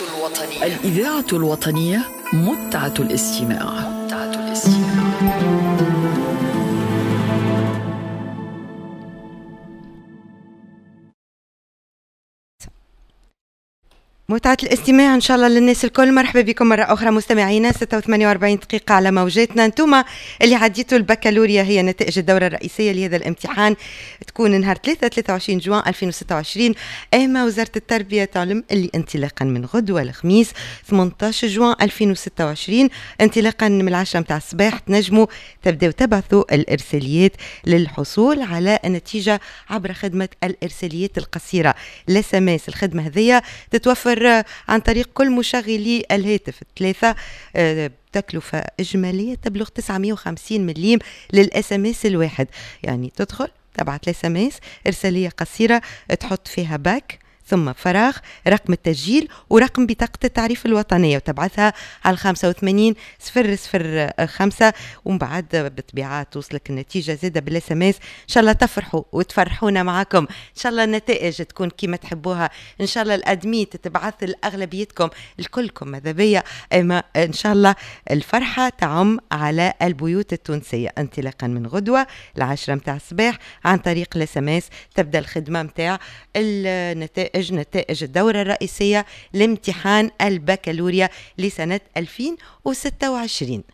الوطنية، الإذاعة الوطنية، متعة الاستماع، متعة الاستماع. متعة الاستماع إن شاء الله للناس الكل. مرحبا بكم مرة أخرى مستمعينا، 6:48 دقيقة على موجاتنا. انتم اللي عديتوا البكالوريا، هي نتائج الدورة الرئيسية لهذا الامتحان تكون نهار 23 جوان 2026. أما وزارة التربية تعلم اللي انطلاقا من غدوة الخميس 18 جوان 2026 انطلاقا من 10 متاع الصباح تنجموا تبداو تبعثوا الإرساليات للحصول على النتيجة عبر خدمة الإرساليات القصيرة ال SMS. الخدمة هذية تتوفر عن طريق كل مشغلي الهاتف الثلاثة، تكلفة إجمالية تبلغ 950 مليم لل SMS الواحد. يعني تدخل تبعت ال SMS إرسالية قصيرة تحط فيها باك ثم فراغ رقم التسجيل ورقم بطاقة التعريف الوطنية وتبعثها على 85 0 0 5، ومن بعد بالطبيعة توصلك النتيجة زادة بال SMS. ان شاء الله تفرحوا وتفرحونا معاكم، ان شاء الله النتائج تكون كما تحبوها، ان شاء الله ال admis تتبعث لأغلبيتكم لكلكم ماذا بيا، اما ان شاء الله الفرحة تعم على البيوت التونسية انطلاقا من غدوة 10 متاع الصباح عن طريق ال SMS تبدا الخدمة متاع النتائج، نتائج الدورة الرئيسية لامتحان البكالوريا لسنة 2026.